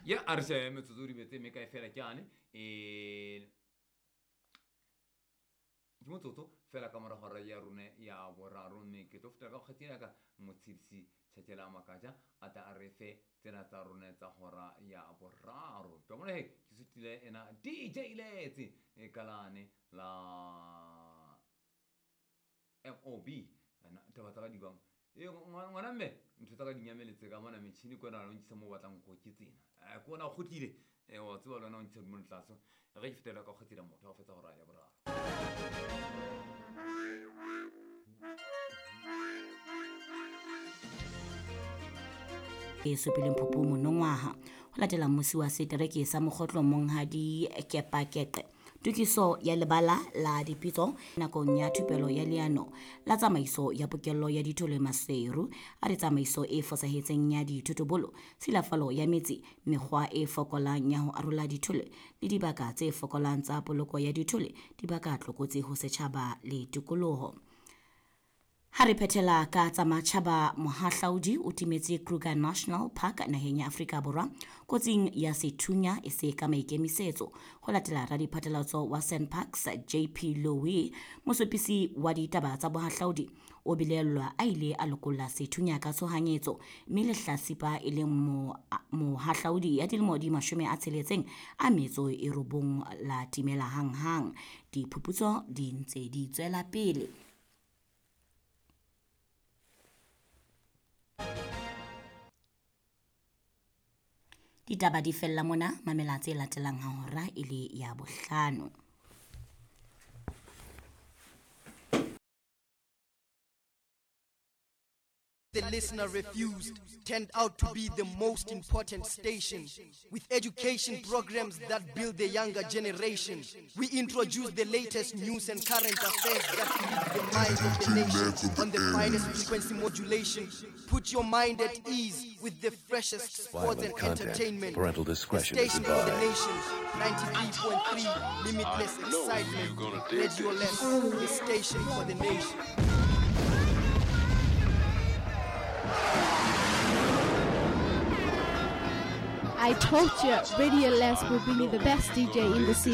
Ya a re she metsotso di betse mme kae fela ke ane um ke motsotso fela ka morago ra ya rone ya boraro, mme ke tlo fetela ka kgwetsing ya ka motshedisi Tšhatšela Makatša a tla a re fe tsena tsa rone tsa gora ya boraro. Ke bona he ke sutile ena DJ Letse e kalane la MOB ana taba tsa ka di bang e ngwana mme ntho tsa ka di nyameletse ka mona metšhini kona lo ntšhisa mo batlang go ke tsena ke ona gotlile wa tseba le wena o ntšhisa mo tlase ge ke fetela ka kgwetsela motho a go fetsa gore a ya boraro. E supileng phupu monongwaha ho latela mmusi wa setereke sa Mokgotlo Monghadi Kepakeqe. Tokiso ya lebala la dipitso nakong ya thupelo ya leano la tsamaiso ya pokello ya dithole Maseru a re tsamaiso e fosahetseng ya dithotobolo, tshilafalo ya metsi, mekgwa e fokolang ya ho arola dithole le dibaka tse fokolang tsa poloko ya dithole di baka tlokotsi ho setjhaba le tikoloho. Ha re phethela ka tsa matjhaba, mohahlaudi o timetse Kruger National Park naheng ya Afrika Borwa kotsing ya sethunya e se ka maikemisetso. Ho latela radiphatlalatso wa SANParks JP Lowe, mosupisi wa ditaba tsa bohahlaudi o bilellwa a ile a lokolla sethunya ka tshohanyetso, mme lehlasipa e leng mohahlaudi ya dilemo di 69 la timela hanghang. Diphuputso di ntse di tswela pele. Ditaba di fella mona, mamela tse latelang ha hora e le ya bohlano. The listener refused turned out to be the most important station with education programs that build the younger generation. We introduce the latest news and current affairs that lead the minds of the nation on the finest frequency modulation. Put your mind at ease with the freshest sports and entertainment. Parental discretion is Station for the advised. nation, 93.3, limitless excitement. Radio Less, the station for the nation. I told you, Radio Les will bring you the best DJ in the city.